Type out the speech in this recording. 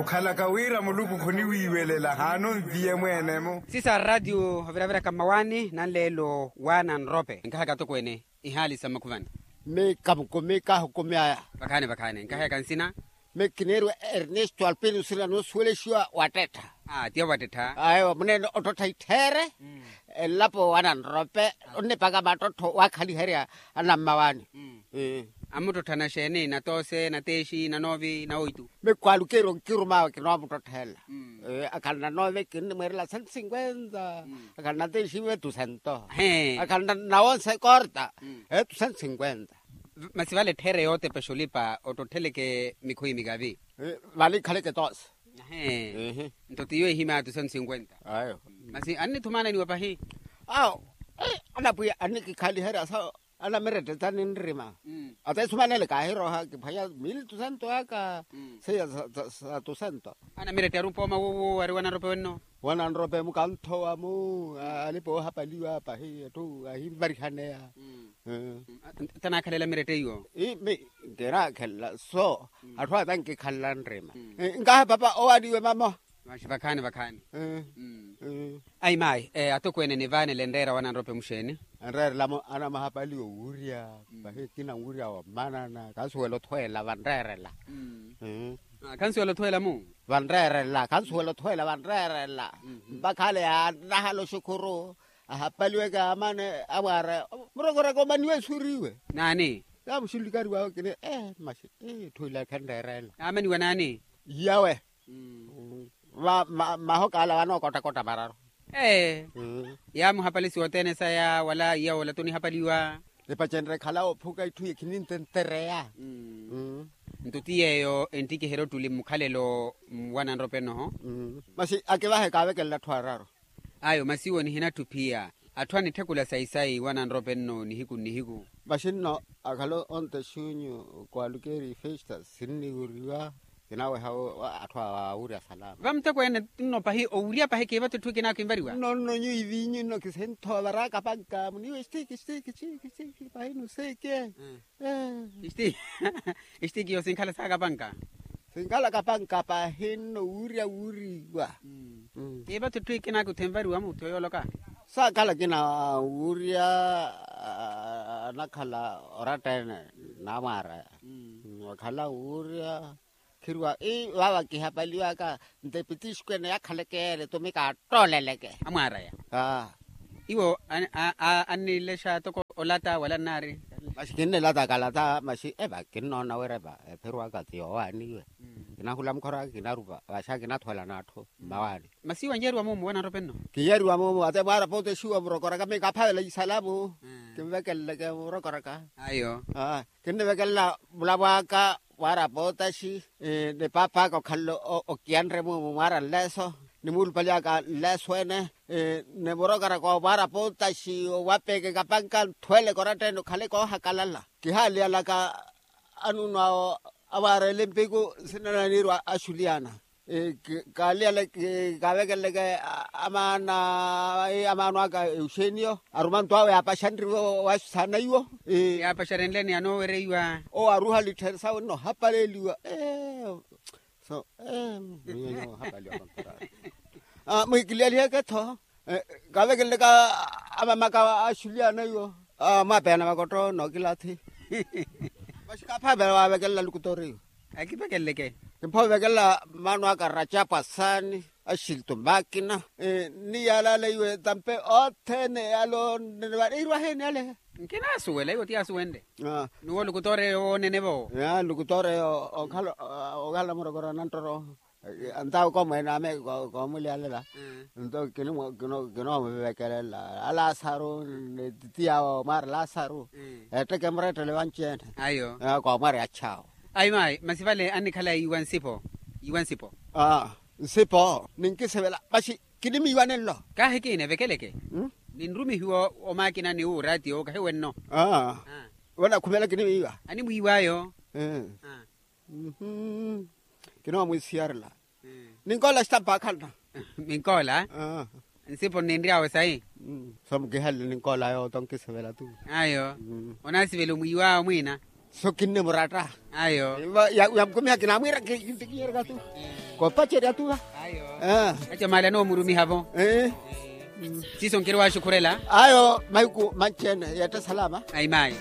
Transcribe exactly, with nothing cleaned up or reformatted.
Khalaka wira muluku khuniwiiwelela haana onviye mweene-mo. Sisa ratio oviraviraka mmawaani nanleelo waana nrope nkahaka atokweene ihaali sa mmakhuvani. Mikamuku mikahuku myaya. Vakhaani vakhaani nkahaka nsina. Mikineeriwa ernesto alpino nsina noosuwelexiwa wattettha. Aa tiya wattettha. Ayo muneene ottottha ittheere. Elapo waana nrope onnipaka mattottho waakhaliherya anammawaani. Amuttotthana xeeni natoose nateexi nanoovi nawoitu. Mikwaalukeeri onkirumaawe kinoomuttottha ela. Akhala nanoove kinnimweerela cento cinquenta. Akhala nateexiwe tu cento. Akhala nawonse korta. Etu cento cinquenta. Masi vale etthere yootepexa olipa ottottheleke mikhuyi mikavi. Vale ikhaleke toose. Nto tiyo ehimya tu cento cinquenta. Masi annithumananiwa pahi. Awo anapwiya annikikhaliherya sa anamirette taninrima. Ata esumanele kaahirooha kiphwanya mili tusento aka seiya sa tusento. Anamirette ari upooma wuwo ari wananrope wenno. Wananrope mukanthowa mu alipa oohapaliwa pahi atthu ahinvarihaneya. Tanakhalela mirette iyo. Imi nkinakhelela so atthu ata nkikhalela nrima. Nkaha papa owaaniwe mamo. Maxi vakhaani vakhaani. Ayi maayi atokweene nivaanele enreera wananrope muxeeni? Enreerela-mo anamahapaliwa owurya. Pahi kina nwurya womanana kansuwela othweela vanreerela. Kansuwela othweela-mu? Vanreerela kansuwela othweela vanreerela. Mpakha ale yaanahala oxukhuru ahapaliweke amane amwaara murokoraka omaniwe esuuriwe. Naani? Yaamuxulikariwawe kini ee maxi etthu ila khenreerela. Naamaniwa naani? Iyawe. Mahoka ala vanookottakotta mararu. Ee. Yaamuhapalisiwa othene saya wala iya wola tonihapaliwa. Nipacenrye khala ophuka itthu ye khinintentereya. Nto ti yeeyo enttikiherya ottuli mmukhalelo mwananrope nnoho. Masi akivahe kaavekelela atthu araru. Ayo masi iwo nihinatthu phiya atthu anitthekula sayi-sayi wananrope nno nihiku nnihiku. Masi nno akhala onte xunyu kwaalukeeri festa sinniwuriwa. Kinaweha atthu awurya salama vamuteko ene. Nno pahi owurya pahi kiivato etthu ikina kinvariwa nno nno nyuwo ivinyu nno kisinthowa varaaka panka muniwe stiki stiki stiki stiki pahi nuseke. Istiki istiki iyo sinkhala saaka panka. Sinkhala kapanka pahi nno wuurya wuuriwa. Kiivato etthu ikina kuthenvariwa mutthu yooloka. Saakhala kina wuurya anakhala oratta-ene naamwaaraya. Wakhala wuurya khiriwa ii vaava kihapaliwaka nto epitixuku ene yakhaleke yeere tumi kaattooleleke. Amwaaraya. Iwo annilexa toko olata wala nnaari. Maxi kinnilata kalata maxi eva kinnoona wira eva ephiriwaka ti yoowaaniwe. Kinahula mukhoraka kinarupa vaxa kinathwela n'atthu mmawaani. Masi wanyeeriwa mumu wananrope nno. Kiyeeriwa mumu ate mwaara pooti exiwa murokoraka miikaphavela isalamu. Kinvekeleleke murokoraka. Ayo. Kinnivekelela mulapwaaka mwaara pootaxi ni paap'aka okhalele okiyanre mumu mwaara nleeso ni muulupali aka nleeso ene. Ni murokaraka omwaara pootaxi owapeeke kapanka nthweleke oratta ene okhale koohakalala. Kihaaliyalaka anuunu awo amwaara elimpiku nsina naniirwa axuliyana. Kaaliyale kaavekeleleke amaana amaano aka euxeniyo aruma nto awe yaapaxanriwe. Wasusana iwo yaapaxarenleni anoowereiwa. Owo aruha littheeri sawe nnohapaleliwa. So mwiikiliyaliheke-tho kaavekeleleke amamaka axuliyana iwo. Mwaapeya na vakotto nookilathi. Maxi kaaphavela waavekelela lukutooriyo. Akivekeleleke. Kimpha ovekelela mmaano aka racapu asaani axilto makina. Ni yaalala iwe tampe othene ale onene vale irwa heeni ale. Nkinaasuwela iwo ti yaasuwenle. Nuwo lukutooreyo woonene-vo. Lukutooreyo okhala murokora nanttoro. Ntawo komweene ame koomuliyalela. Nto kinoomuvevekelela alasaru ni titi yawo mwaari lasaru. Etteke murettele vanci-ene. Ayo. Koomwari achaawo. Ayi maayi masi vale annikhala yiiwa nsipo. Yiiwa nsipo. Nsipo ninkisivela masi kinimiiwa nenlo. Kaahi kiina evekeleke. Ninrumihiwa omaakina ni wuuraatiyo kahiwenno. Vanakhumela kinimiiwa. Animwiiw'ayo. Kinoomusiyarela. Ninkoola xitampa akhalana. Minkoola. Nsipo nninry'awe sayi. So mukihalele ninkool'ayo oto nkisivela tu. Ayo. Onaasivela omwiiw'awe mwiina. So kinne muratta. Ayo. Yamkumiha kinamwira kintikiyerya tu. Kopacerya tu. Ayo. Aca mali anomurumiha vo. Siiso nkiri waxukhurela. Ayo mahiku manci-ene yetta salama. Ayi mayi.